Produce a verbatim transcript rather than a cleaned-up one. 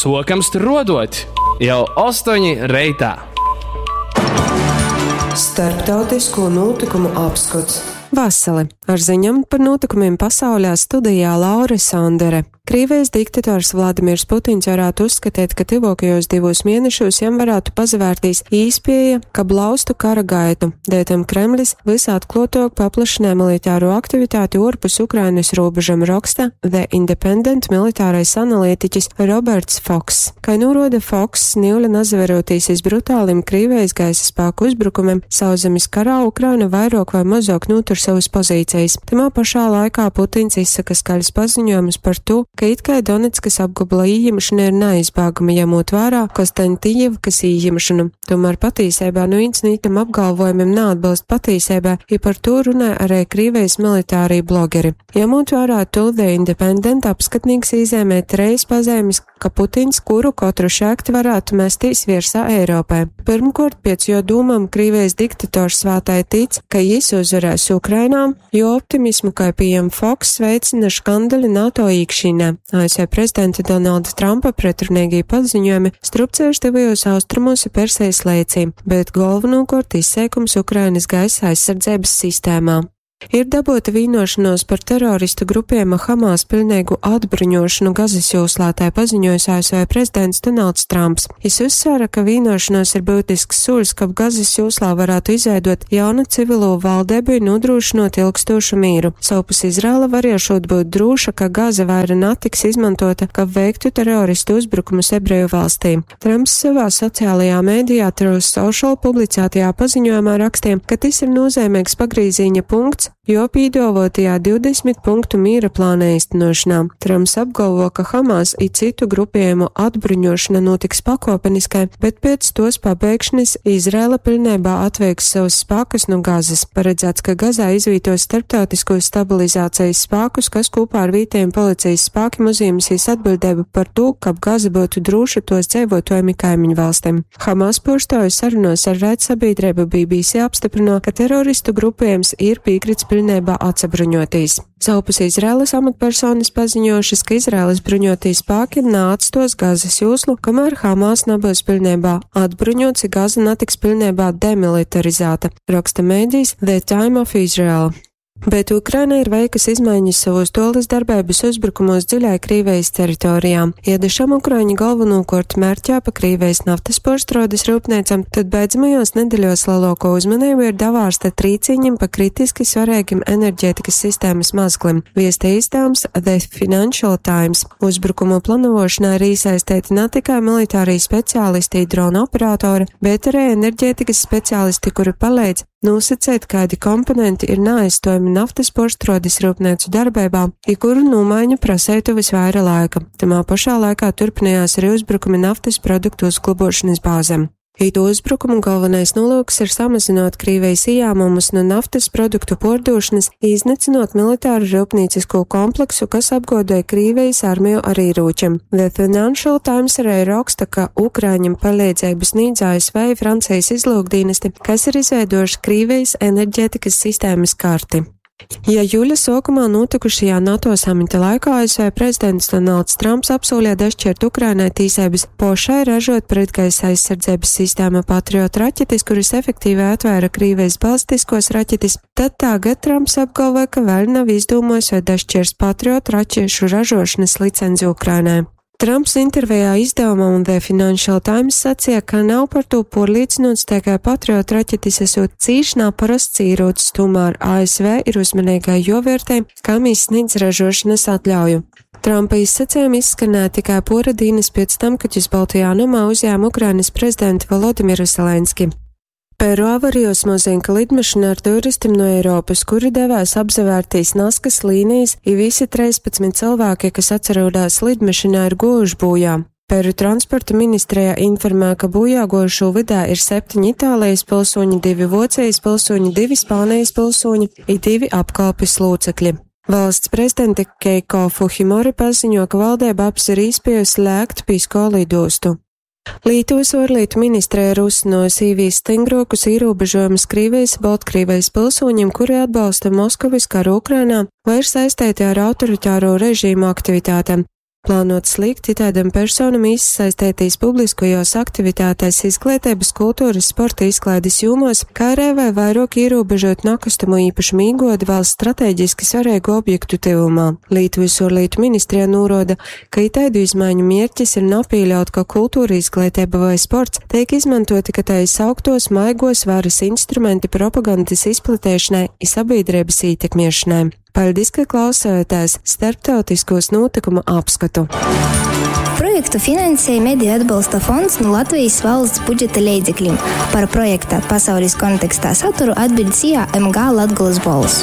Sokam struodot jau ostoņi reitā. Starptautisko notikumu apskots. Vasali! Ar ziņām par notikumiem pasaulē studijā Laura Sandere. Krīvijas diktators Vladimirs Putins varētu uzskatīt, ka tuvākajos divos mēnešos jam varētu pazavērtīs īspēja, ka blaustu kara gaitu. Dētam Kremlis visatklātāk paplašināja militāro aktivitāti orpus Ukrainas robežam, raksta The Independent militārais analītiķis Roberts Fox. Kā norāda Fox, niule nazaverotīs iz brutālim Krīvijas gaisa spēku uzbrukumiem, sauszemes karā Ukraina vairāk vai mazāk notur savas pozīcijas. Tamā pašā laikā Putins izsaka skaļus paziņojumus par to, ka it kā Donetskas apgabala ījimšana ir neizbēgama, ņemot vērā Kostantinjevkas ījimšanu. Tomēr patīsībā nu viens no itam apgalvojumiem neatbilst patīsībā, ja par to runāja arī Krīvijas militārī blogeri. Ņemot vērā to, The Independent apskatnīgs īzēmē treis pazīmes, ka Putins kuru katru šēkti varētu mestīs virsā Eiropai. Pirmkārt, pēc jo dūmam Krīvijas diktators svētai tic, ka jis uzvarēs Ukrainā, jo optimismu, kā pieejam Fox, veicina škandali NATO īkšķīnē. A S V prezidenta Donalda Trumpa pretrunīgie paziņojumi strupceļš tuvajos austrumos ir Persijas lēcī, bet galvenokārt izseikums Ukrainas gaisa aizsardzības sistēmā. Ir dabūta vienošanos par teroristu grupējuma Hamas pilnīgu atbruņošanu Gazas joslā, tā paziņojis A S V prezidents Donalds Trumps. Jis uzsvēra, ka vienošanos ir būtisks solis, kab Gazas joslā varētu izveidot jaunu civilo valdību un nodrošinot ilgstošu mīru. Savpus Izraela variešot būt droša, ka Gaza vaira netiks izmantota, kab veiktu teroristu uzbrukumus ebreju valstī. Trumps savā sociālajā mēdījā Truth Social publicētajā paziņojumā rakstīja, ka tas ir nozīmīgs pagrīziņa punkts, jo pīdolotajā divdesmit punktu mīra plāna īstenošanā. Trumps apgalvo, ka Hamas i citu grupējumu atbruņošana notiks pakopeniskai, bet pēc tos pabeigšanas Izraela pilnībā atveiks savus spēkus no Gazas. Paredzēts, ka Gazā izvītos starptautiskos stabilizācijas spēkus, kas kopā ar vietējiem policijas spēkiem uzņemsies atbildību par to, kab Gaza būtu droša tos dzīvotājiem i kaimiņu valstīm. Hamas pārstāvju sarunās ar raidsabiedrību B B C apstiprino, ka teroristu grupējums ir piekrits pilnībā atsabruņotīs. Savpus Izraēlas amatpersonas paziņojušas, ka Izraēlas bruņotie spēki neatstos Gazas joslu, kamēr Hamas nebūs pilnībā atbruņots, ja Gaza netiks pilnībā demilitarizēta, raksta mēdījis The Time of Israel. Bet Ukraina ir veikusi izmaiņas savos tolis darbības uzbrukumos dziļai Krīvijas teritorijā. Ja da šam Ukraiņi galvenokārt mērķē pa Krīvijas naftas porštrodes rūpniecam, tad beidzamajos nedeļos lielāko uzmanību ir davārsta trīciņam pa kritiski svarīgiem enerģētikas sistēmas mazglim, viesta izdevums The Financial Times. Uzbrukumu planošanā ir iesaistīti ne tikai militārie speciālisti, drona operatori, bet arī enerģētikas speciālisti, kuri palīdz nosacīt, kādi komponenti ir neaizstojami naftas porštrodes rūpnīcu darbībā, i kuru nomaiņu prasētu visvaira laika. Tamā pašā laikā turpinājās arī uzbrukumi naftas produktu uzglabošanas bāzēm. Itu uzbrukumu galvenais nolūks ir samazinot Krīvijas ieņēmumus no naftas produktu pordošanas, iznīcinot militāru rūpnīcisko kompleksu, kas apgodēja Krīvijas armiju ar ieročiem. The Financial Times arī raksta, ka Ukraiņam palīdzību sniedz A S V Francijas izlūkdienesti, kas ir izveidojuši Krīvijas enerģētikas sistēmas karti. Ja jūļa sākumā notikušajā NATO samita laikā A S V prezidents Donalds Trumps apsolīja dašķirt Ukrainai tīsības pošai ražot pretgaisa aizsardzības sistēmu Patriot raķetes, kuras efektīvi atvēra Krīvijas balistiskos raķetes, tad tagad Trumps apgalvoja, ka vēl nav izdomājis, vai dašķirs Patriot raķešu ražošanas licenci Ukrainai. Trumps intervijā izdevumam The Financial Times sacīja, ka nav par to porlīdzinots, tikai Patriot raķetes esot cīši naparasts īrocis, tomēr A S V ir uzmanīgai jovērtē, kam izsniedz ražošanas atļauju. Trumpa izsacījumi izskanēja tikai pora dienas pēc tam, kad viņš Baltajā namā uzņēma Ukrainas prezidentu Volodimiru Zelenski. Peru avarijos mozinka lidmašīna ar turistiem no Eiropas, kuri devās apzavērtīs Naskas līnijas, i visi trīspadsmit cilvēki, kas atcerodās lidmašīnā, ir gojuši bojā. Peru transporta ministrijā informē, ka bojā gojušo vidā ir septiņi Itālijas pilsoņi, divi Vocijas pilsoņi, divi Spānijas pilsoņi i divi apkalpes locekļi. Valsts prezidente Keiko Fujimori paziņo, ka valdība apsver iespēju slēgt Pisko lidostu. Lietuvas ārlietu ministrija ir uzsnojusi īvīs stingrokus ierobežojumus Krievijas, Baltkrievijas pilsoņiem, kuri atbalsta Moskavas karu Ukrainā vai ir saistīti ar autoritāro režīmu aktivitātēm. Plānots likt itaidam personam īsasaistētīs publiskajos aktivitātēs izgleiteibys, kulturys, sporta, izklaidis jūmuos, kai arī vai vairuok īrūbežuot nakustamo īpašumu īguodi valsts strateģiski svareigu objektu tyvumā. Lītuvys uorlītu ministrija nūruoda, ka itaidu izmaiņu mierķis ir napīļaut, ka kultura, izgleiteiba voi sports teik izmantuoti ka tai sauktuos maiguos varys instrumenti propagandys izplateišonai i sabīdreibys ītekmiešanai. Paļdis, ka klausējāties starptautiskos nūtykumu apskatu. Projektu finansēja Mediju atbalsta fonds no Latvijas valsts budžeta leidzekļiem. Par projekta pasaules kontekstā saturu atbild S I A M G Latgolas Bolss.